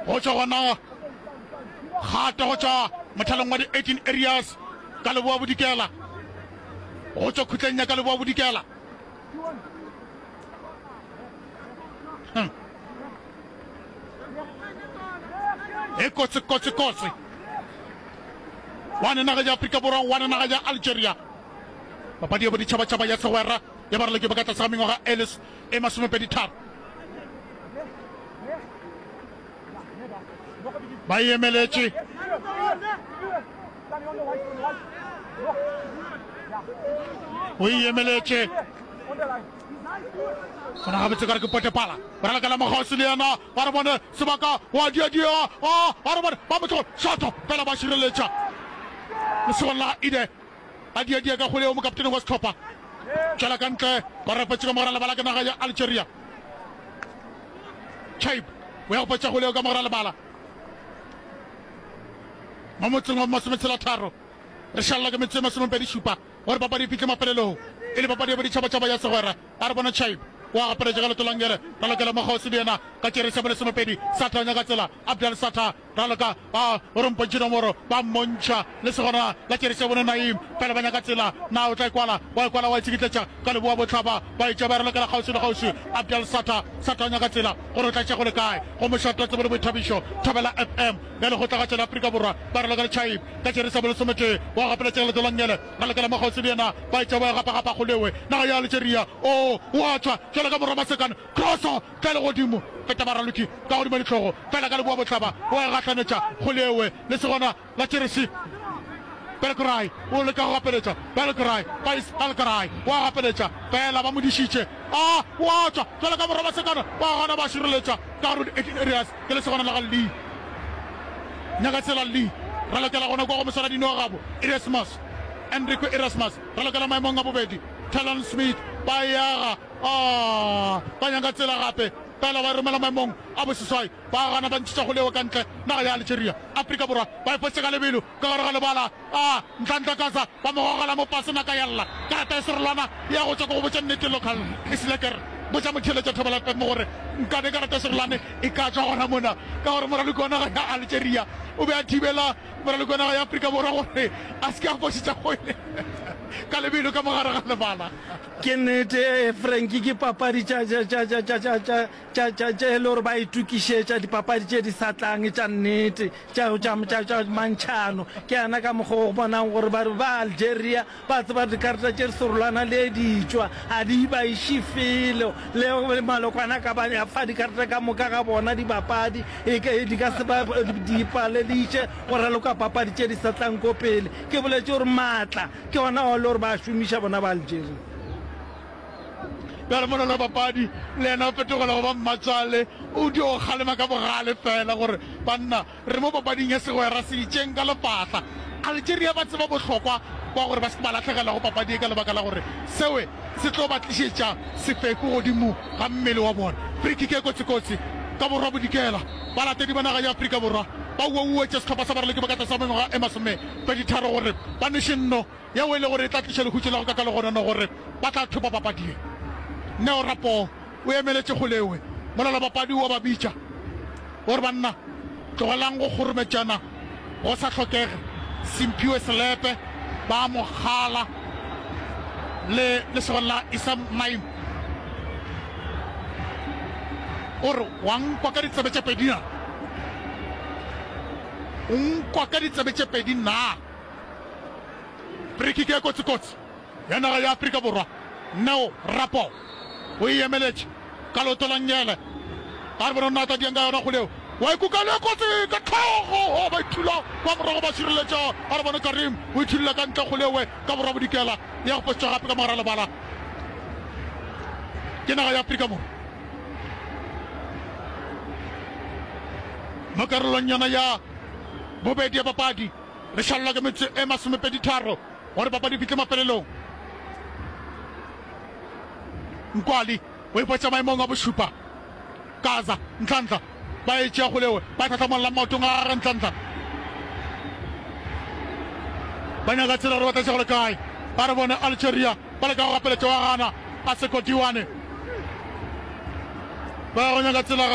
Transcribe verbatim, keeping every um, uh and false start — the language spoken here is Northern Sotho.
Go tšwa gona kgato go tšwa mothalong wa di eighteen areas ka leboa bodikela, go tšwa khutleng ya ka leboa bodikela. Hmm. E kotsi kotsi kotsi. One naga ya Afrika Borwa, one naga ya Algeria. Papadi ya boditšhabatšhaba ya segwera ya baraloki ba ka tlase ga mengwaga e les e masomepedi tharo. Ba e emeletše. O e emeletše. Gona gabotse ka re ke Potepala. Ba ralokela mokgauswi le yena. Ba re bone sebaka wa dia-dia. A ba re bone ba mo tlogo. Shoto fela ba šireletša. Lesogong la Ide. A dia-dia ka kgwele yeo mokaptene wa sehlopha. Tšwela ka ntle. Ba rapetše ka mogara lebala ke naga ya Algeria. Chaib o ya go fetša kgwele yeo ka mogara lebala. Mo motseng wa masometshela tharo. Re šalela ke metsotso e masomepedi šupa gore papadi e fihle mafelelong. E le papadi ya boditšhabatšhaba ya segwera. A re bone Chaib o a gapeletša ka leoto la ngele. Ralokela mo kgauswi le yena ka tšeresi ya bolesomepedi. Satha o nyaka tsela. Abdel Satha raloka ba o re mpontšhe nomoro. Ba mmontšha le segona la tšeresi ya bone Naim. Fela ba nyaka tsela. Na o tla e kwala? Wa e kwala wa e tsikitletša ka leboa bohlaba. Ba e tšea ba e ralokela kgauswi le kgauswi. Abdel Satha. Satha o nyaka tsela gore o tla tšea go le kae. Go mošate wa tsebo le boithabišo Thobela F M ya Lekgotlagatšo la Afrika Borwa. Ba ralokela Chaib ka tšeresi ya bolesometee. Wa gapeletšega leoto la ngele. Ralokela mo kgauswi le yena. Ba etša ba gapa-gapa kgolewe naga ya Algeria. O, o a tšwa bjalo ka morwa Masekane. Kroso tla le godimo, feta baraloki ka godimo dihlogo, fela ka leboa bohlaba o a e gahlanetša kgolewe le segona la Jeresi. Belkrai o leka go gapeletša. Belkrai, Faiz Belkrai o a gapeletša, fela ba mo dišitše. A, o a tšwa bjalo ka morwa Masekane. Ba gana ba šireletša ka gare go di-eighteen areas. Ke lesogana la ga Lee. Nyaka tsela Lee. Ralokela gona kwa go moswaradino wa gabo Erasmus. Enrico Erasmus. Ralokela maemong a bobedi. Talon Smith. Ba e aga. Ah, ba nyaka tsela gape. Fela ba e romela maemong a boseswai. Ba gana ba ntšhetša kgolego ka ntle. Naga ya Algeria. Afrika Borwa ba e fotše ka lebelo ka gare ga lebala. Ah, Nhlanhla Gaza ba mo gogela mo fase naka ya lla. Karata ya serolwana ya go tšwa ke go botša nnete local e se leker. Botša motheeletša Thobela F M gore nkabe karata ya serolwane e ka tšwa gona mona ka gore moraloki wa naga ya Algeria o be a thibela moraloki wa naga ya Afrika Borwa gore a se ke a fošetša kgwele ka lebelo ka mogare ga lebala. Ke nnete, Frankie, ke papadi tša, tša, tša, tša, tša, tša, tša, tša, tša, tše e le gore ba itokišetša dipapadi tše di sa tlang tša nnete, tša, tša, tša, tša mantšhano. Ke yana ka mokgwa o bonang gore ba, ba Algeria ba tseba dikarata tše serolwana le di tšwa, ga di ba iše felo. Le malokwana ka ba fa dikarata ka moka ga bona dibapadi, e ka, di ka se ba di palediše go raloka papadi tše di sa tlang ko pele. Ke boletše gore maatla ke ona ao e le gore ba a šomiša bona ba Algeria. Bjale mola papadi le yena o fetogela go ba mmatswale, o dio kgalema ka bogale fela gore banna re mo papading ya segwera se itšeng ka lefahla. Algeria ba tseba bohlokwa bja gore ba se ke ba lahlegelwa go papadi ye ka lebaka la gore sewe se tlo ba tlišetša sefeku godimo ga mmele wa bona. Free-kick e kotsikotsi ka borwa bodikela. Balatedi ba naga ya Afrika Borwa ba uauetša sehlopha sa baraloki ba ka tlase ga mengwaga e masomepeditharo gore ba nweše nno yeo e le gore e tla tliša lehutšo la go kaka legonono gore ba tla thopa papadi ye. Neo Rapoo o emeletše kgolewe mola labapadi o a ba bitša o re, Banna, tlogelang go kgorometšana go sa hlokege. Simphiwe Selepe ba mo kgala le lesogana la Issam Naim. O re, Wa nkwa ka ditsebe tše pedi na? O nkwa ka ditsebe tše pedi na? Free-kick e kotsi-kotsi ya naga ya Afrika Borwa. Neo Rapo o e emeletše ka leoto la nngele. Ga re bone gore na tla diang ka yona kgole eo. Wa e kuka le kotsi ka hlogo. Oh, ba ithula kwa morago ba šireletša. Ga re bone Karim o ithulile ka ntle kgole ewe ka borwa bodikela. Ya go fošetšwa gape ka mogare lebala ke naga ya Afrika Borwa. Mo karolong yona ya bobedi ya papadi re šalelwa ke metsotso e masomepedi tharo gore papadi e fihle mafelelong. Nkwali o ipotša maemong a bošupa. Gaza, Nhlanhla ba e tšea kgolewe ba tlhahlamolla maotong a gagwe. Nhlanhla ba nyaka tsela gore ba tla tšea go le kae. Ba re bone Algeria ba leka go gapeletša wa gana a Seko Diwane ba ya go nyaka tsela.